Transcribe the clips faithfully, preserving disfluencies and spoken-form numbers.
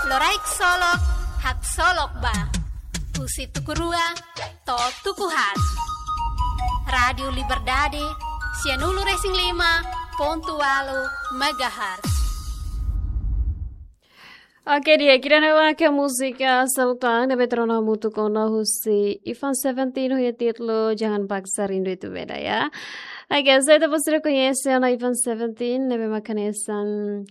Loraik Solok, Haksolok Ba. Husi tuku rua to'o tuku haat. Rádiu Liberdade, sianulu-resin-lima pontu ualu megahertz. Oke, di'ak, ida-ne'e mak múzika seluk tan ne'ebé tuur ona hamutuk ona husi Ivan Seventeen ho títulu Jangan Paksa Rindu Itu Beda, ya. Oke, so ita-boot sira koñese ona Ivan Seventeen, ne'ebé mak hanesan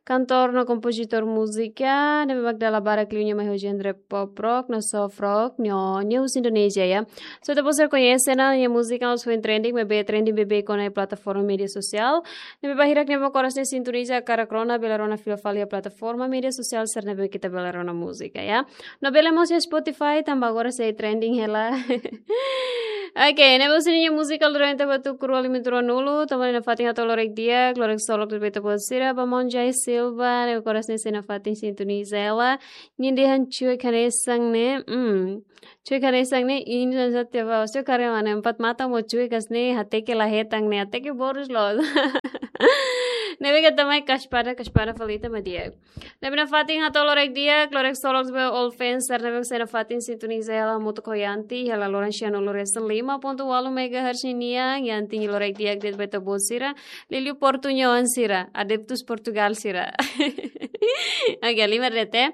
kantór no kompozitór múzika, ne'ebé mak dala barak liu nia mai ho genre pop rock no soft rock, no nia husi Indonézia, ya. So ita-boot sira koñese ona, nia múzika mós foin trending, maibé trending beibeik ona iha plataforma média sosiál. Ne'ebé bainhira ita-nia korasaun ne'e sintoniza karik rona, bele rona fila fali iha plataforma média sosiál sira ne'ebé ita bele rona múzika, ya. No bele mós iha Spotify, tanba agora sei trending hela. Oke, ne'ebé husi nia múzika durante ba tuku rua lima tuku ruanulu, tama ona iha fatin hato'o loraik di'ak, loraik solok de'it ba ita-boot sira, ba maun Jai Silva, ne'ebé korasaun ne'e sei nafatin sintoniza hela, nia dehan cuek hanesan ne'e, hmm. Cuek hanesan ne'e, ini dan satu ya, Bos. Cuek karena mana? Empat mata mós cuek hanesan ne'e, hateke la hetan ne'e, hateke borus loos. Ne'ebé ita mai kaspada, kaspada fali ita mak di'ak. Ne'ebé nafatin hato'o loraik di'ak, loraik solok ba all fans sira ne'ebé sei nafatin sintoniza hela hamutuk ho Yanti, hela loron sianulu-resin-lima pontu ualu megahertz nian, Yanti nia loraik di'ak de'it ba ita-boot sira, liuliu portuñoan sira, adeptus Portugal sira. Oke, lima D T.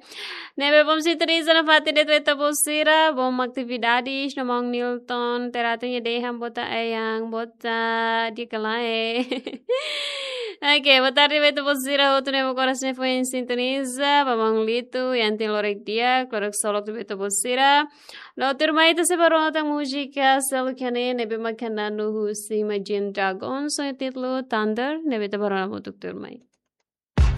Ne'ebé bom sintoniza nafatin de'it ba ita-boot sira, bom atividades, no maun Nilton Terate nia dehan boot, ayang, boot, di'ak ka lae. Oke, boa tarde ba ita-boot sira hotu ne'ebé korasaun ne'e foin sintoniza, ba maun Lito, Yanti loraik di'ak, loraik solok de'it ba ita-boot sira. No tuirmai ita sei bá rona tan múzika seluk iha ne'e, ne'ebé mak hanesan husi Imagine Dragons, ho títulu Thunder, ne'ebé ita bá rona hamutuk tuirmai.